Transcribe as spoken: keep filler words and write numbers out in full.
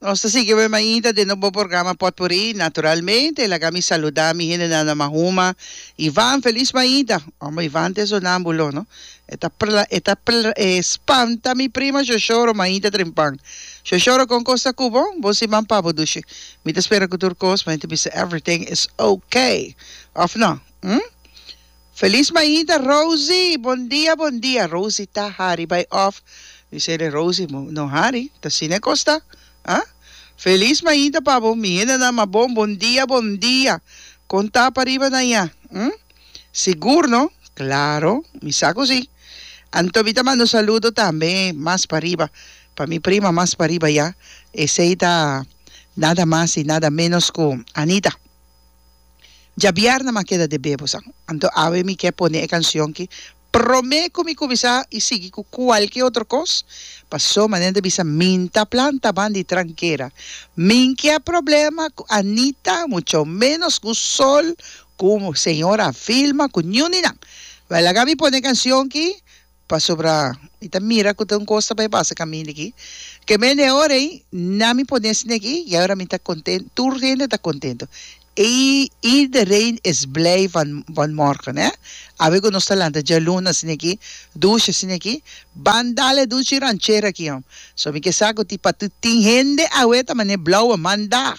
Nos ta sigui awe mainta den nos bo programa Potpourri. Naturalmente, laga mi saluda mi hendenan na Mahuma. Ivan, felis mainta. Homber, Ivan ta e sonambulo, no? E ta pla, e ta pla, e spanta mi prima Shoshoro mainta trempan. Shoshoro, con cos ta cu bo? Bon siman pa bo, dushi. Mi ta spera cu tur cos, ma ta bisa everything is okay. Of no? Hm? Felis mainta, Rosie! Bon dia, bon dia! Rosie ta hari bai off. Mi sede Rosie, no hari, ta asina e cos ta. Ah? Felis mainta pa bo, mi hendenan ma bon, bon dia, bon dia! Con ta pa riba na ya? Hm? Sigur no? Claro, mi sa cu si. Anto mi ta manda un saludo tambe mas pa riba, pa mi prima mas pa riba ya. Esey ta nada mas y nada menos cu Anita. Djabièrnè m'a keda debé bo sa. Anto awe mi ke pone e kansion ki promé ku mi kuminsá i sigui ku kualke otro kos, paso manera ta bisa min ta planta ban di trankera. Min ke a problema ku Anita, mucho ménos ku Sol, ku señora Vilma, ku niun di nan. Wèl laga mi pone e kansion ki Pasobra mi ta mira ku ta un kos ta bai pasa kaminda aki. Ke mende e ora ei, na mi pone esei aki, i awor mi ta konten, tur hende ta kontento. I iedereen is blij van van morgen, hè. Awe ku nos ta lanta djaluna asina aki, dushi asina aki, ban dal e dushi ranchera aki, hom. So mi ke sa ku ti pa tin hende awe ta manera blauwe maandag.